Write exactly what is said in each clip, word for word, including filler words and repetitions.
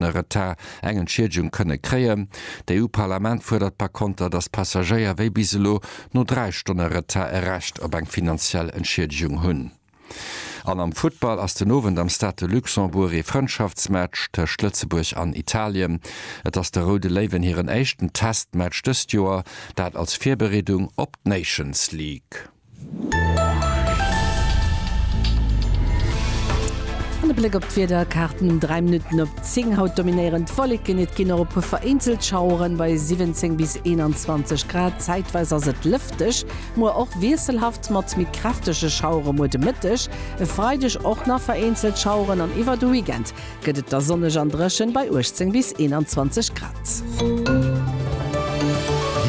Stonne Retard eng Entschiedegung kënne kréien. D'EU-Parlament fuerdert par konter, datt d'Passagéier wéi bis elo no dräi Stonne Retard e Recht op eng finanziell Entschiedegung hunn. An am Futtball ass den Owend am Stade de Luxembourg ee Frëndschaftsmatch tëscht Lëtzebuerg an Italien. Et ass de Roude Léiwen hiren éischten Testmatch dëst Joer, dat als Virbereedung op d'Nations League. An e Bléck op d'Wiederkaarten um dräi Minutten op zéng. Haut dominéieren d'Wolleken, et ginn och e puer vereenzelt Schaueren bei siwwenzéng bis eenanzwanzeg Grad. Zäitweis ass et lëfteg, muer och wiesselhaft mat méi kräftege Schauere muer de Mëtteg. E Freideg och nach vereenzelt Schaueren an iwwer de Weekend gëtt et da sonneg an dréchen bei uechtzéng bis eenanzwanzeg Grad.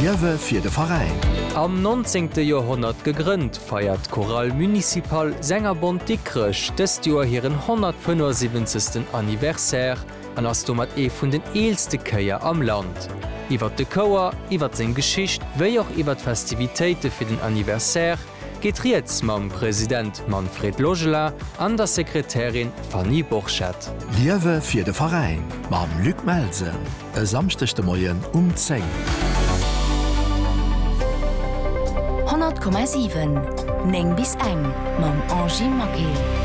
Liewe fir de Veräin. Am nonzéngte Joerhonnert gegrënnt, feiert d'Chorale Municipale Sängerbond Dikrech dëst Joer hiren honnertfënnefundsiwwenzegsten Anniversaire an ass domat ee vun den eelste Chéier am Land. Iwwert de Chouer, iwwert seng Geschicht wéi och iwwert d'Festivitéite fir den Anniversaire geet rieds mam President Manfred Logelin an der Sekretärin Fanny Borchert. Liewe fir de Veräin mam Luc Melsen e Samschdeg de Moien um zéng. Honnert Komma siwen, néng bis eng mam Angie Maquet.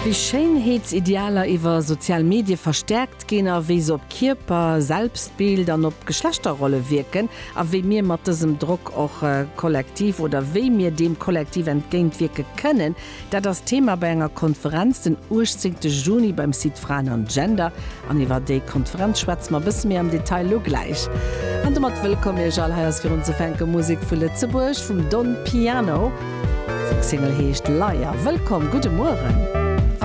Wéi Schéinheetsidealer iwwer sozial Medie verstäerkt ginn a wéi se op Kierper, Selbstbild an op Geschlechterrolle wierken a wéi mir mat dësem Drock och kollektiv oder wéi mir deem kollektiv entgéintwierke kënnen, dat ass Thema bei enger Konferenz den uechtzéngte Juni beim Site Fraen an Gender. An iwwer déi Konferenz schwätze mer e bësse méi am Detail lo gläich. An domat wëllkomm Iech all. Hei ass fir unzefänke Musek vu Lëtzebuerg vum Don Piano. Seng Single heescht Liar. Wëllkomm, gudde Mueren.